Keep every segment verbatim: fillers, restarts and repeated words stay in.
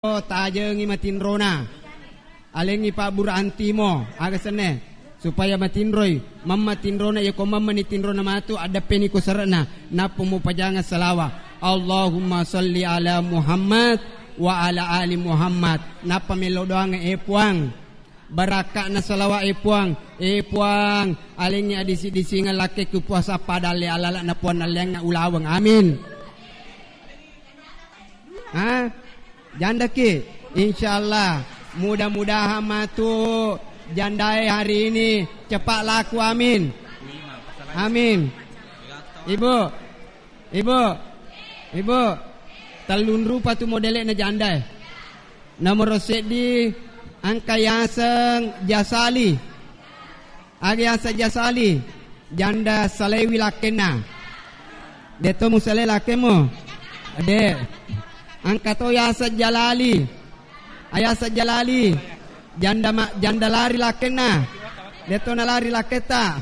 tajengi matinrona. Alengngi pabbura antimo, aga senne? Supaya matinroi, mamma tinrona, iya ko mammani tinrona matu, addeppeni ko sere'na, nappa mupajangeng salawa. Allahumma salli ala Muhammad wa ala ali Muhammad. Nappa mello doangnge, e Puang, barakka'na salawa, e Puang, e Puang, alengngi adisi-disingeng lakkekku puasa padalle alala'na Puang nalleangnga ulaweng. Amin. Ha? Jandaki? Insyaallah. Mudah-mudahan matu jandae hari ini cepat laku. Amin. Amin. Ibu, ibu, ibu. Tellung rupa tu modele'na jandae. Nomoro seddi, engka yaseng Jasali. Aga yaseng Jasali? Janda salewi lakkenna. De'to musalai lakkemu? De'. Engka to yaseng Jalali. Ayaseng Jalali, janda ma-, janda lari lakkenna. De'to nalari lakketta?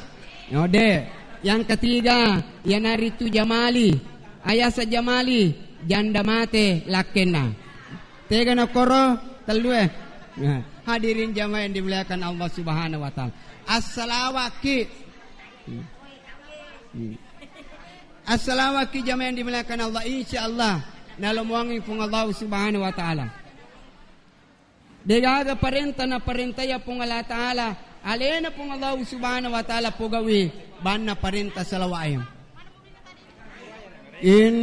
No, de'. Yang ketiga, iyanaritu Jamali. Ayaseng Jamali, janda mate lakkenna. Tega na koro tellue? Nah, hadirin jamaah yang dimuliakan Allah Subhanahu wa Ta'ala. Assalawakki. Hmm. Hmm. Assalawakki jamaah yang dimuliakan Allah. Insyaallah nalomoangngi Puang Allah Subhanahu wa Ta'ala. Degaga parenta naparentaya Puang Allah Ta'ala, alena Puang Allah Subhanahu wa Ta'ala pogawi banna parenta salawa'e. In